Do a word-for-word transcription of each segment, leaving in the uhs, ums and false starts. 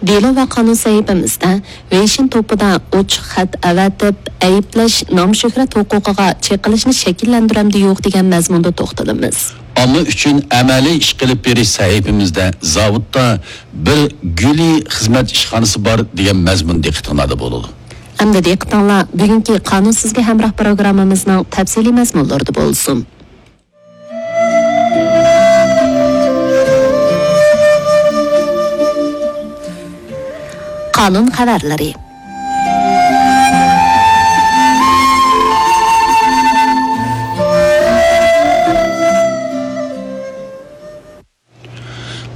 دېلو ۋە قانۇن سەھىپىمىزدە ۋېيشىن توپىدا ئوچۇق خەت ئەۋەتىپ، ئەيىبلەش نام-شۆھرەت ھوقۇقىغا چېقىلىشنى شەكىللەندۈرەمدۇ يوق دېگەن مەزمۇندا توختىلىمىز. ئامما ئۈچۈن ئەمەلىي ئىش قىلىپ بېرىش سەھىپىمىزدە زاۋۇتتا بىر گۈلى خىزمەت ئىشخانىسى بار دېگەن مەزمۇن دىققىتىڭلاردا بولىدۇ. ئەمدى دىققىتىڭلار بۈگۈنكى قانۇن سىزگە ھەمراھ پروگراممىمىزنىڭ تەپسىلىي مەزمۇنلىرىدا بولسۇن. قانۇن خەۋەرلىرى.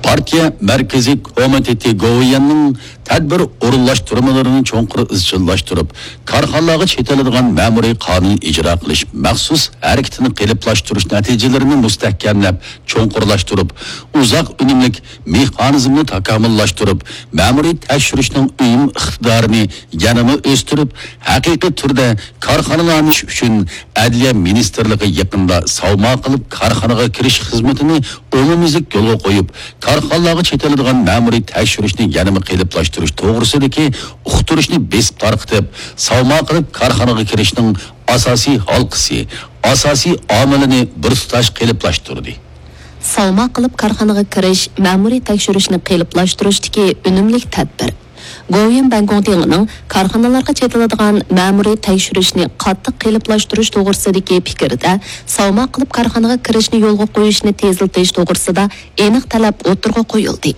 پارتىيە مەركىزىي كومىتېتى گوۋۇيۈەننىڭ تەدبىر ئورۇنلاشتۇرمىلىرىنى چوڭقۇر ئىزچىللاشتۇرۇپ، كارخانىلارغا چېتىلىدىغان مەمۇرىي قانۇن ئىجرا قىلىش مەخسۇس ھەرىكىتىنى قېلىپلاشتۇرۇش نەتىجىلىرىنى مۇستەھكەملەپ، چوڭقۇرلاشتۇرۇپ، ئۇزاق ئۈنۈملۈك مېخانىزمنى تاكامۇللاشتۇرۇپ، مەمۇرىي تەكشۈرۈشنىڭ ئۈنۈم ئىقتىدارىنى يەنىمۇ ئۆستۈرۈپ، ھەقىقىي تۈردە كارخانىلارنى ئۈچۈن ئەدلىيە مىنىستىرلىقى يېقىندا ساۋما قىلىپ كارخانىغا كىرىش خىزمىتىنى ئومۇميۈزلۈك يولغا قويۇپ، كارخانىلارغا چېتىلىدىغان مەمۇرىي تەكشۈرۈشنى يەنىمۇ قېلىپلاشتۇرۇش توغرىسىدىكى ئۇقتۇرۇشنى بېسىپ تارقىتىپ، ساۋما قىلىپ كارخانىغا كىرىشنىڭ ئاساسىي ھالقىسى، ئاساسىي ئامىلىنى بىر تۇتاش قېلىپلاشتۇردى. ساۋما قىلىپ كارخانىغا كىرىش مەمۇرىي تەكشۈرۈشنى قېلىپلاشتۇرۇشتىكى ئۈنۈملۈك تەدبىر. گوۋۇيۈەن بەنگوڭتىڭىنىڭ كارخانىلارغا چېتىلىدىغان مەمۇرىي تەكشۈرۈشنى قاتتىق قېلىپلاشتۇرۇش توغرىسىدىكى پىكرىدە ساۋما قىلىپ كارخانىغا كىرىشنى يولغا قويۇشنى تېزلىتىش توغرىسىدا ئېنىق تەلەپ ئوتتۇرىغا قويۇلدى.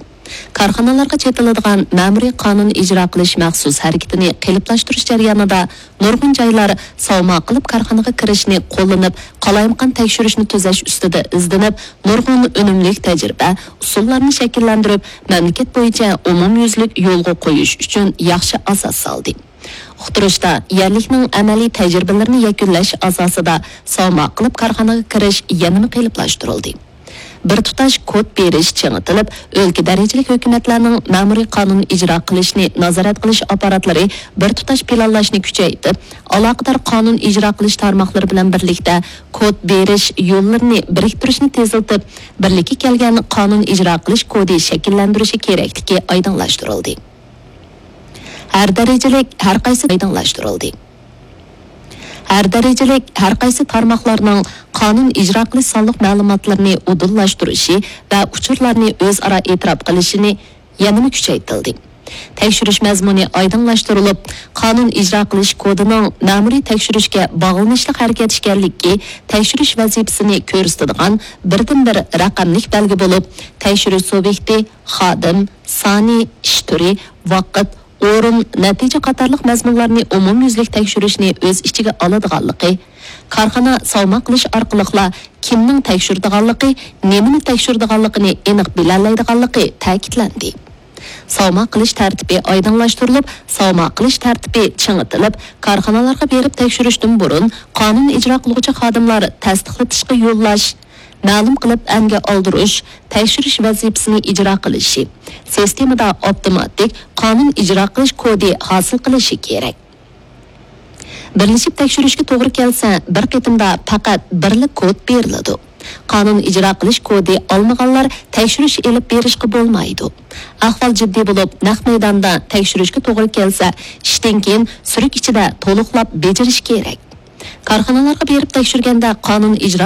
كارخانىلارغا چېتىلىدىغان مەمۇرىي قانۇن ئىجرا قىلىش مەخسۇس ھەرىكىتىنى قېلىپلاشتۇرۇش جەريانىدا نۇرغۇن جايلار ساۋما قىلىپ كارخانىغا كىرىشنى قوللىنىپ، قالايمىقان تەكشۈرۈشنى تۈزەش ئۈستىدە ئىزدىنىپ، نۇرغۇن ئۈنۈملۈك تەجرىبە، ئۇسۇللارنى شەكىللەندۈرۈپ، مەملىكەت بويىچە ئومۇميۈزلۈك يولغا قويۇش ئۈچۈن ياخشى ئاساس سالدى. ئۇقتۇرۇشتا يەرلىكنىڭ ئەمەلىي تەجرىبىلىرىنى يەكۈنلەش ئاساسىدا ساۋما قىلىپ كارخانىغا كىرىش يەنىمۇ قېلىپلاشتۇرۇلدى. بىر تۇتاش كود بېرىش چىڭىتىلىپ، ئۆلكە دەرىجىلىك ھۆكۈمەتلەرنىڭ مەمۇرىي قانۇن ئىجرا قىلىشنى نازارەت قىلىش ئاپپاراتلىرى بىر تۇتاش پىلانلاشنى كۈچەيتىپ، ئالاقىدار قانۇن ئىجرا قىلىش تارماقلىرى بىلەن بىرلىكتە كود بېرىش يوللىرىنى بىرىكتۈرۈشنى تېزلىتىپ، بىرلىككە كەلگەن قانۇن ئىجرا قىلىش كودى شەكىللەندۈرۈشى كېرەكلىكى ئايدىڭلاشتۇرۇلدى. ھەر دەرىجىلىك ھەر قايسى ئايدىڭلاشتۇرۇلدى. ھەر دەرىجىلىك ھەر قايسى تارماقلارنىڭ قانۇن ئىجرا قىلىش سانلىق مەلۇماتلىرىنى ئۇدۇللاشتۇرۇشى ۋە ئۇچۇرلارنى ئۆزئارا ئېتىراپ قىلىشىنى يەنىمۇ كۈچەيتىلدى. تەكشۈرۈش مەزمۇنى ئايدىڭلاشتۇرۇلۇپ، قانۇن ئىجرا قىلىش كودىنىڭ مەمۇرىي تەكشۈرۈشكە باغلىنىشلىق ھەرىكەت ئىكەنلىكى تەكشۈرۈش ۋەزىپىسىنى كۆرسىتىدىغان بىردىنبىر رەقەملىك بەلگە بولۇپ، تەكشۈرۈش سۇبيېكتى، خادىم، سانى، ئىش تۈرى، ۋاقىت، ئورۇن، نەتىجە قاتارلىق مەزمۇنلارنى ئومۇميۈزلۈك تەكشۈرۈشنى ئۆز ئىچىگە ئالىدىغانلىقى، كارخانا ساۋما قىلىش ئارقىلىقلا كىمنىڭ تەكشۈرىدىغانلىقى، نېمىنى تەكشۈرىدىغانلىقىنى ئېنىق بىلەلەيدىغانلىقى تەكىتلەندى. ساۋما قىلىش تەرتىپى ئايدىڭلاشتۇرۇلۇپ، ساۋما قىلىش تەرتىپى چىڭىتىلىپ، كارخانىلارغا بېرىپ تەكشۈرۈشتىن بۇرۇن قانۇن ئىجرا قىلغۇچى خادىملار تەستىقلىتىشقا يوللاش، مەلۇم قىلىپ ئەنگە ئالدۇرۇش، تەكشۈرۈش ۋەزىپىسىنى ئىجرا قىلىشى، سىستېمىدا ئاپتوماتىك قانۇن ئىجرا قىلىش كودى ھاسىل قىلىشى كېرەك. بىرلىشىپ تەكشۈرۈشكە توغرا كەلسە، بىر قېتىمدا پەقەت بىرلا كود بېرىلىدۇ. قانۇن ئىجرا قىلىش كودى ئالمىغانلار تەكشۈرۈش ئېلىپ بېرىشقا بولمايدۇ. ئەھۋال جىددىي بولۇپ، نەق مەيداندا تەكشۈرۈشكە توغرا كەلسە، ئىشتىن كېيىن سۈرۈك ئىچىدە تولۇقلاپ بېجىرىش كېرەك. كارخانىلارغا بېرىپ تەكشۈرگەندە قانۇن ئىجرا